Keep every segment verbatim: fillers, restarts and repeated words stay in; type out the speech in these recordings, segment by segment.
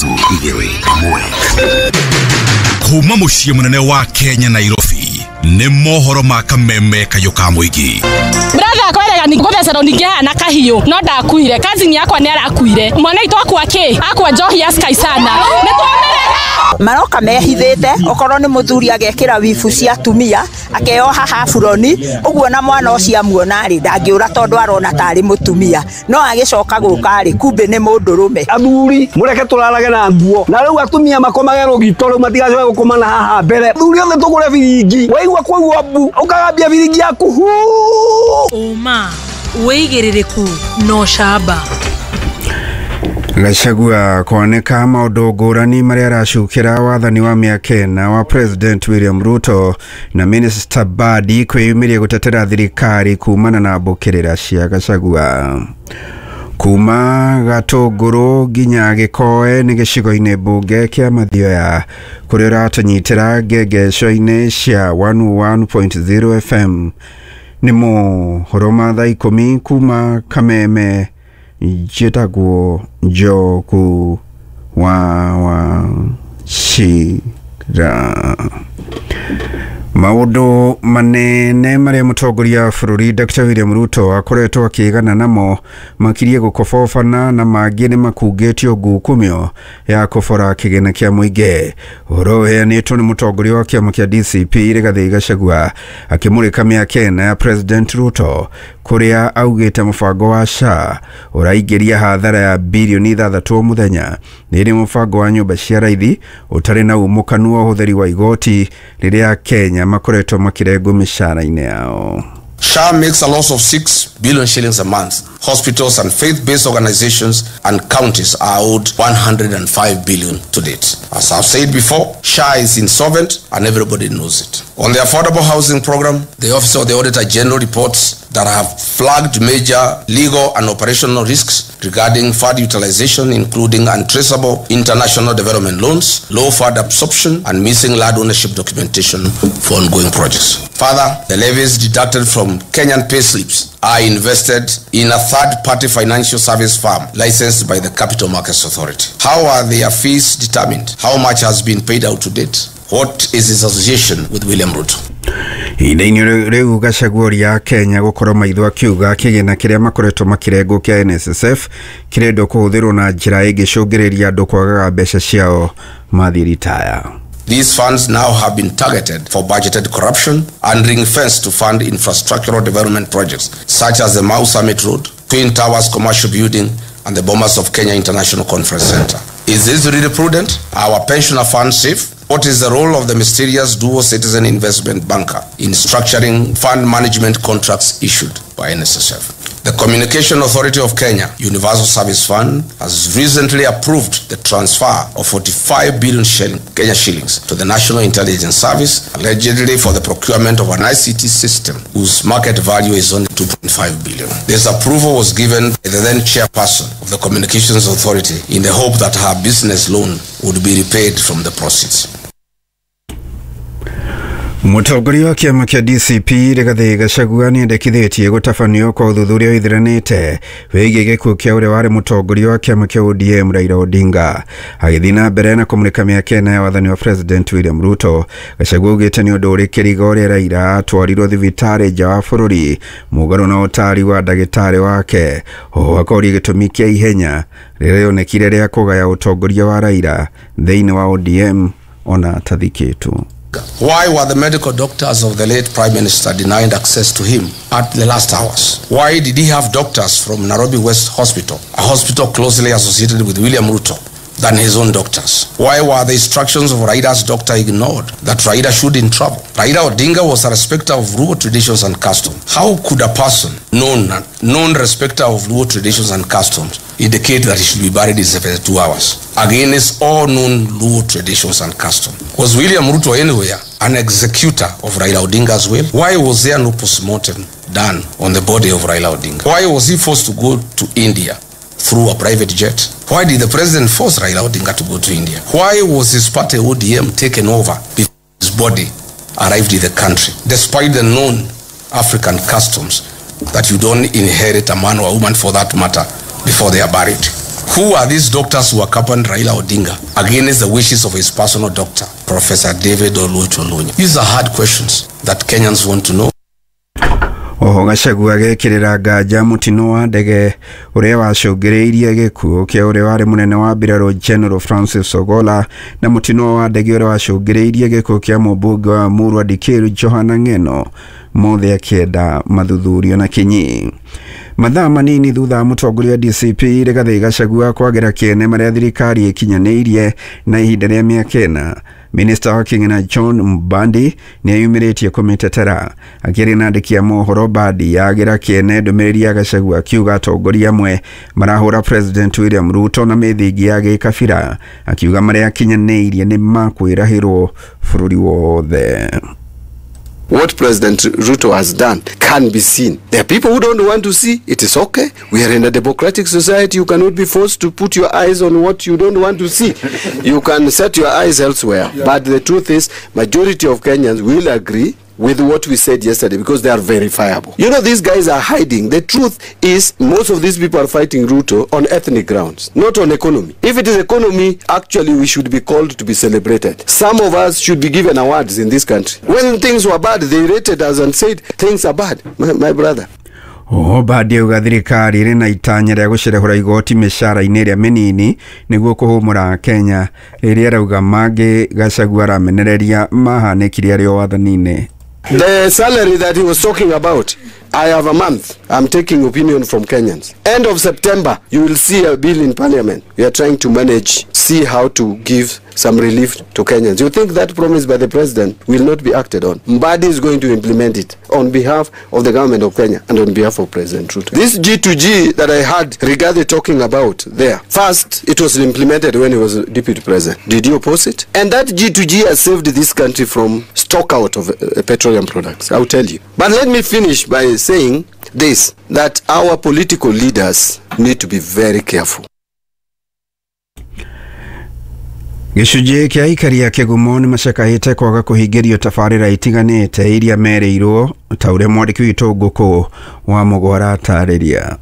Ithatũ, igĩrĩ, ĩmwe. Kuma mũciĩ mũnene wa Kenya, Nairobi, nĩ mohoro ma kameme kayũ ka mũingĩ. Brother akwerega ni gũthecerwo ningĩ haha na kahiũ, no ndakuire. Cousin yakwa nĩ arakuire, mwana witũ akua kĩ akua njohi ya Sky sana, nĩ twamĩrega. Maroka mehithĩte, okorwo nĩ mũthuri agekĩra wibu cia atumia, akeoha haburoni ũguo, na mwana ũcio amuona rĩ, ndangĩũra tondũ arona tarĩ mũtumia, no agĩcoka gũka rĩ, kumbe nĩ mũndũrũme. Athuri mũreke tũrarage na nguo, na rĩu atumia makomage rũgito, rĩu matigacoke gũkoma na haha mbere. Athuri othe tũgũre biringi, waigua kwaigua mbu ũkagambia biringi yaku hu. Ũma, wĩigĩrĩrĩku na ũcamba. Gachagua kwanĩka maũndũ ngũrani marĩa aracukĩra wathani wa mĩaka ĩna wa President William Ruto, na Minister Badi kwĩyumĩria gũtetera thirikari kumana na mbũkĩrĩra cia Gachagua. Kuma Gatũngũrũ nginya Gĩkoe nĩ gĩcigo-inĩ mbunge kĩa Mathioya, kũrĩa ũratũnyitĩra ngengeco-inĩ cia one oh one point zero F M. Nĩ mohoro ma thaa ikũmi kuma Kameme. Njĩtagwo Njoku wa Wachira. Maũndũ manene marĩa mũtongoria wa bũrũri Doctor William Ruto akoretwo akĩgana namo makirie gũkobobana, na mangĩ nĩ makungĩtio ngukumio ya kũbora kĩgĩna kĩa mũingĩ. Ũhoro ũheanĩtwo nĩ mũtongoria wa kĩama kĩa D C P Rigathĩ Gachagua akĩmũrĩka mĩaka ĩna ya President Ruto, kũrĩa augĩte mũbango wa S H A ũraingĩria hathara ya birioni ithathatũ o mũthenya, nĩ mũbango wa nyũmba cia raithi ũtarĩ na umũkanu wa ũhũthĩri wa igoti rĩrĩa Kenya makoretwo makĩrengwo mĩcara-inĩ yao. S H A makes a loss of six billion shillings a month. Hospitals and faith-based organizations and counties are owed one hundred five billion to date. As I've said before, S H A is insolvent and everybody knows it. On the affordable housing program, the Office of the Auditor General reports that have flagged major legal and operational risks regarding fund utilization, including untraceable international development loans, low fund absorption, and missing land ownership documentation for ongoing projects. Further, the levies deducted from Kenyan payslips are invested in a third-party financial service firm licensed by the Capital Markets Authority. How are their fees determined? How much has been paid out to date? What is his association with William Ruto? Ihinda-inĩ rĩu Gachagua ya Kenya gũkorwo maitho akiuga kĩgĩna kĩrĩa makoretwo makĩrengwo kĩa N S S F kĩrendwo kũhũthĩrwo na njĩra ĩngĩcũngĩrĩria andũ kwagaga mbeca ciao mathiĩ ritaya. These funds now have been targeted for budgeted corruption and ring-fenced to fund infrastructural development projects such as the Mau Summit Road, Twin Towers Commercial Building, and the Bomas of Kenya International Conference Center. Is this really prudent? Are our pensioner funds safe? What is the role of the mysterious dual citizen investment banker in structuring fund management contracts issued by N S S F? The Communication Authority of Kenya Universal Service Fund has recently approved the transfer of forty-five billion shilling, Kenya shillings to the National Intelligence Service, allegedly for the procurement of an I C T system whose market value is only two point five billion. This approval was given by the then chairperson of the Communications Authority in the hope that her business loan would be repaid from the proceeds. Mũtongoria wa kĩama kĩa D C P Rigathĩ Gachagua nĩendekithĩtie gũtabanio kwa ũthuthuria wĩthiranĩte wĩgiĩ gĩkuũ kĩa ũrĩa warĩ mũtongoria wa kĩama kĩa O D M Raila Odinga. Agĩthiĩ na mbere na kũmũrĩka mĩaka ĩna ya wathani wa President William Ruto, Gachagua augĩte nĩ ũndũ ũrĩ kĩrigo ũrĩa Raila atwarirwo thibitarĩ nja wa bũrũri mũgarũ na ũtari wa ndagĩtarĩ wake. Oho akoria gĩtũmi kĩa ihenya rĩrĩa rĩonekire rĩa kũgaya ũtongoria wa Raila thĩinĩ wa O D M ona atathikĩtwo. Why were the medical doctors of the late Prime Minister denied access to him at the last hours? Why did he have doctors from Nairobi West Hospital, a hospital closely associated with William Ruto, than his own doctors? Why were the instructions of Raila's doctor ignored that Raila shouldn't travel? Raila Odinga was a respecter of Luo traditions and customs. How could a person known, known respecter of Luo traditions and customs indicate that he should be buried in seventy-two hours against all known Luo traditions and customs? Was William Ruto anywhere an executor of Raila Odinga's will? Why was there no postmortem done on the body of Raila Odinga? Why was he forced to go to India through a private jet? Why did the president force Raila Odinga to go to India? Why was his party O D M taken over before his body arrived in the country, despite the known African customs that you don't inherit a man or a woman for that matter before they are buried? Who are these doctors who accompanied Raila Odinga against the wishes of his personal doctor, Professor David Oluoch Olunya? These are hard questions that Kenyans want to know. Oho Gachagua agekĩrĩra nganja mũtino wa ndege ũrĩa wacũngĩrĩirie gĩkuũ kĩa ũrĩa warĩ mũnene wa mbirarũ General Francis Ogolla na mũtino wa ndege ũrĩa wacũngĩrĩirie gĩkuũ kĩa mũmbunge wa Murwa Dikiru Johana Ng'eno mothe akĩenda mathuthurio na kinyi. Mathaa manini thutha wa mũtongoria D C P Rigathi Gachagua kwagĩra kĩene marĩa thirikari ĩkinyanĩirie na ihinda rĩa mĩaka ĩna, Minister wa Kĩgĩna John Mbadi nĩeyumĩrĩtie kũmĩtetera. Akĩaria na andĩki a mohoro, Mbadi yagĩra kĩene ndũmĩrĩri ya Gachagua akiuga atongoria amwe marahũra President William Ruto na mĩthingi ya gĩkabira, akiuga marĩa akinyanĩirie nĩ makwĩrahĩrwo bũrũri wothe. What President Ruto has done can be seen. There are people who don't want to see. It is okay. We are in a democratic society. You cannot be forced to put your eyes on what you don't want to see. You can set your eyes elsewhere. Yeah. But the truth is, majority of Kenyans will agree with what we said yesterday because they are verifiable. You know, these guys are hiding. The truth is, most of these people are fighting Ruto on ethnic grounds, not on economy. If it is economy, actually we should be called to be celebrated. Some of us should be given awards in this country. When things were bad, they rated us and said, things are bad, my, my brother. Oho Mbadi auga thirikari ĩrĩ na itanya rĩa gũcerehũra igoti mĩcara-inĩ ĩrĩa mĩnini nĩguo kũhũmũra Kenya, rĩrĩa arauga mangĩ Gachagua aramenereria mahanĩkire arĩ o wathani-inĩ. The salary that he was talking about, I have a month. I'm taking opinion from Kenyans. End of September, you will see a bill in parliament. We are trying to manage, see how to give some relief to Kenyans. You think that promise by the president will not be acted on? Mbadi is going to implement it on behalf of the government of Kenya and on behalf of President Ruto. This G to G that I had Rigathi talking about there, first, it was implemented when he was deputy president. Did you oppose it? And that G to G has saved this country from stock out of uh, petroleum products, I'll tell you. But let me finish by saying this, that our political leaders need to be very careful. Gĩcunjĩ kĩa aikari a Kĩgumo nĩ macakahĩte kwaga kũhingĩrio tabarĩra itiganĩte iria merĩirwo ta ũrĩa mwandĩki witũ Ngũkũ wa Mũgwara atarĩria.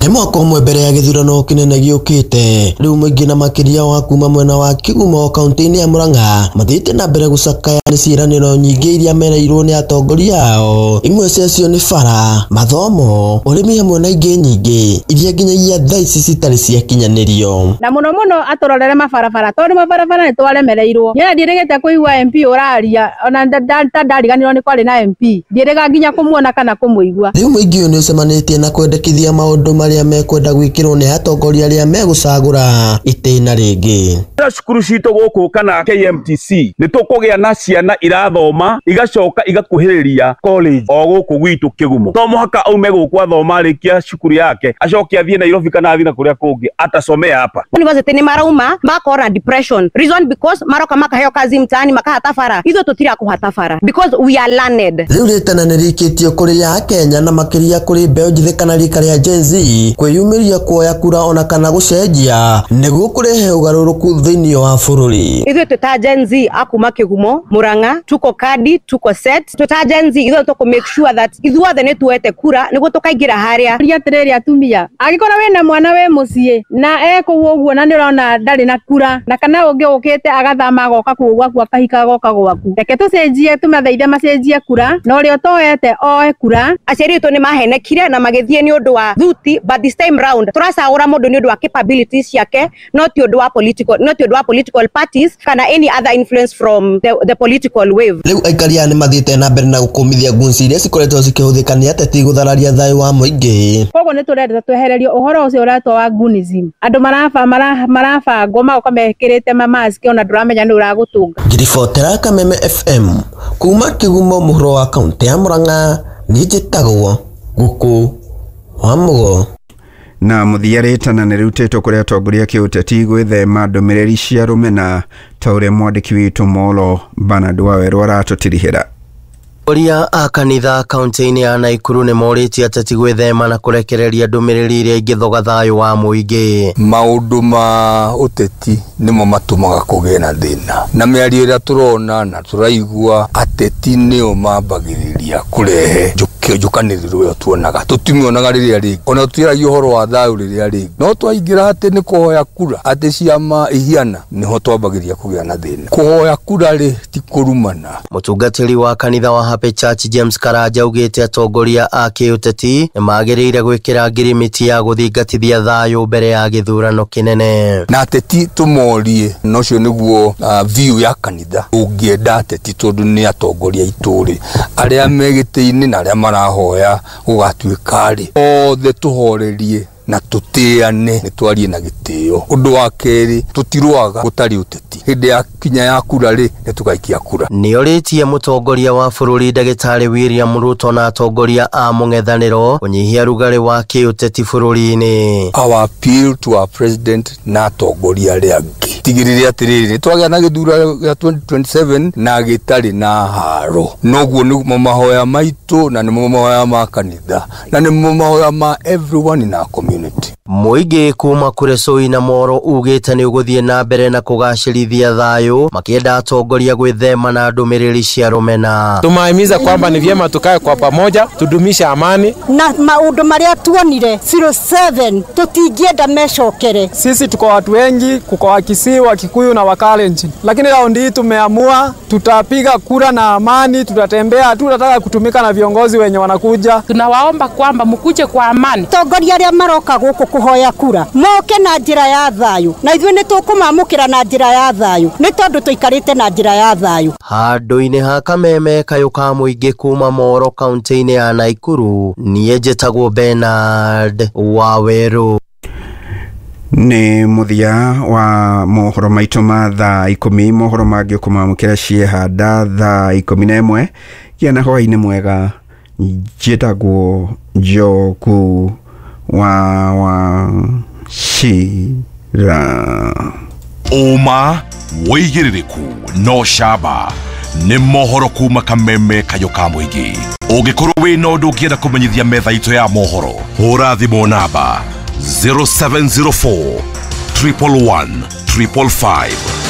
Nĩ mwaka ũmwe mbere ya gĩthurano kĩnene gĩũkĩte, rĩu mũingĩ na makĩria wa kuma mwena wa Kĩgumo kaunti-inĩ ya Murang'a mathiĩte na mbere gũcakaya nĩ ciĩranĩro nyingĩ iria mereirwo nĩ atongoria ao. Imwe ciacio nĩ bara, mathomo, ũrĩmi hamwe na ingĩ nyingĩ iria nginyagia thaa ici citarĩ ciakinyanĩrio. Na mũno mũno atũrorere mabarabara tondũ mabarabara nĩ twaremereirwo. Niĩ ndiĩrĩgĩte kũigua M P ũraria ona ta ndariganĩrwo nĩ kwarĩ na M P, ndiĩrĩga nginya kũmuona kana kũmũigua. Rĩu mũingĩ ũyũ nĩ ũcemanĩtie na kwendekithia maũndũ marĩa mekwenda gwĩkĩrwo nĩ atongoria arĩa megũcagũra itĩna rĩngĩ. Cukuru citũ gũkũ kana K M T C nĩ tũkũgĩa na ciana irathoma igacoka igakuhĩrĩria college o gũkũ gwitũ Kĩgumo. To mũhaka aume gũkũ athoma arĩkia cukuru yake acoke athiĩ Nairobi kana athiĩ na kũrĩa kũngĩ atasomea hapa. University nĩ marauma makora depression reason because maroka makaheo kazi mtaani makahata bara ithuĩ tũtira kũhata bara because we are learned. Rĩu rĩtana nĩ rĩikĩtio kũrĩ a Kenya na makĩria kũrĩ mbeũ njĩthĩ kana rika rĩa Gen Z kwĩyumĩria kuoya kura ona kana gũcenjia nĩguo kũrehe ũgarũrũku thĩinĩ wa bũrũri. Ithuĩ twĩta Gen Z akuma Kĩgumo Murang'a tuko kadi tuko set twĩta Gen Z ithuĩ tũkũ make sure that ithuothe nĩ tuoete kura nĩguo tũkaingĩra harĩa. Ria atĩrĩrĩ atumia, angĩkorwo wĩna mwana wĩ mũciĩ na ekũu ũguo na nĩ ũrona ndarĩ na kura na kana ũngĩ ũkĩte agathama agoka kũu gwaku akahika agoka gwaku, reke tũcenjie tũmathaithe macenjie kura na ũrĩa ũtoete oe kura. Aciari aitũ nĩ mahenekire na magĩthiĩ nĩ ũndũ wa thuti, but this time round tũracagũra mũndũ nĩ ũndũ wa capabilities ciake, not ũndũ wa political, not ũndũ wa political parties kana any other influence from the, the political wave. Rĩu aikari aya nĩ mathiĩte na mbere na gũkũmithia ngunci iria cikoretwo cikĩhũthĩka nĩ ateti gũthararia thayũ wa mũingĩ. Koguo nĩ tũrenda twehererio ũhoro ũcio ũretwo wa gunism. Andũ maraba marabangwo magoka mekĩrĩte mamaski ona ndũramenya nĩ ũragũtũnga. Ngiribotera Kameme F M kuma Kĩgumo mũhuro wa kaunti ya Murang'a, niĩ njĩtagwo Ngũkũ wa Mũgo. Na mũthia rĩtana nĩ rĩrutĩtwo kũrĩ atongoria kĩũteti gwĩthema ndũmĩrĩri cia rũmena ta ũrĩa mwandĩki witũ Molo Bernard Wawerũ aratũtirihĩra. Atongoria a kanitha kaunti-inĩ ya Naikuru nĩ morĩtie ateti gwĩthema na kũrekereria ndũmĩrĩri iria ingĩthoga thayũ wa mũingĩ. Maũndũ ma ũteti nĩmo matũmaga kũgĩe na thĩna, na mĩario ĩrĩa tũrona na tũraigua ateti nĩo mambagĩrĩria kũrehe njũkanĩrĩro ĩyo tuonaga. Tũtimĩonaga rĩrĩa rĩngĩ, ona tũtiaragia ũhoro wa thayũ rĩrĩa rĩngĩ, no twaingĩra atĩ nĩ kũhoya kura atĩ ciama ihiana, nĩho twambagĩrĩria kũgĩa na thĩna. Kũhoya kura rĩ ti kũrumana. Mũtungatĩri wa kanitha wa Happy Church James Karanja augĩte atongoria a kĩũteti nĩmagĩrĩire gwĩkĩra ngirimiti ya gũthingatithia thayũ mbere ya gĩthurano kĩnene. Na ateti tũmorie, na ũcio nĩguo uh, view ya kanitha. Ũngĩenda ateti tondũ nĩ atongoria aitũ rĩ, arĩa me gĩtĩ-inĩ na arĩa marahoya gũgatuĩka rĩ, othe tũhorerie na tũtĩane, nĩ twarie na gĩtĩo. Ũndũ wa kerĩ, tũtirũaga gũtarĩ ũteti. Hĩndĩ ya kinya ya kura rĩ, nĩ tũgaikia kura. Nĩorĩtie mũtongoria wa bũrũri ndagĩtarĩ William Ruto na atongoria a mũng'ethanĩro kũnyihia rugarĩ wa kĩũteti bũrũri-inĩ. Our appeal to our president na atongoria arĩa angĩ, tigĩrĩre atĩrĩrĩ, twagĩa na gĩthurano gĩa twenty twenty-seven na gĩtarĩ na haro. Noguo nĩmo mahoya maitũ, na nĩmo mahoya ma kanitha, na nĩmo mahoya ma everyone in our community. Mũingĩ kuma Kuresoi na Moro ugĩte nĩ ũgũthiĩ na mbere na kũgacĩrithia thayũ, makĩenda atongoria gwĩthema na ndũmĩrĩri cia rũmena. Tumahimiza kwamba ni vyema tukae kwa pamoja, tudumishe amani. Na maũndũ marĩa tuonire zero seven tũtingĩenda mecokere. Sisi tuko watu wengi, kuko Wakisii, Wakikuyu na Wakalenjin, lakini raundi hii tumeamua tutapiga kura na amani, tutatembea, tutataka kutumika na viongozi wenye wanakuja. Tunawaomba kwamba mkuje kwa amani. Atongoria arĩa maroka gũkũ kũhoya kura moke na njĩra ya thayũ, na ithuĩ nĩ tũkũmamũkĩra na njĩra ya thayũ, nĩ tondũ tũikarĩte na njĩra ya thayũ. Handũ-inĩ ha kameme kayũ ka mũingĩ kuma Moro kaunti-inĩ ya Naikuru, niĩ njĩtagwo Bernard Wawerũ. Nĩ mũthia wa mohoro maitũ ma thaa ikũmi. Mohoro mangĩ ũkũmamũkĩra ciehanda thaa ikũmi na ĩmwe. Gĩa na hwaĩ-inĩ mwega. Njĩtagwo Njoku wa wa Shira. Ũma wĩigĩrĩrĩku no camba nĩ mohoro kuma kameme kayũ ka mũingĩ. Ũngĩkorwo wĩna ũndũ ũngĩenda kũmenyithia metha itũ ya mohoro, hũra thimũ namba zero seven zero four triple one triple five.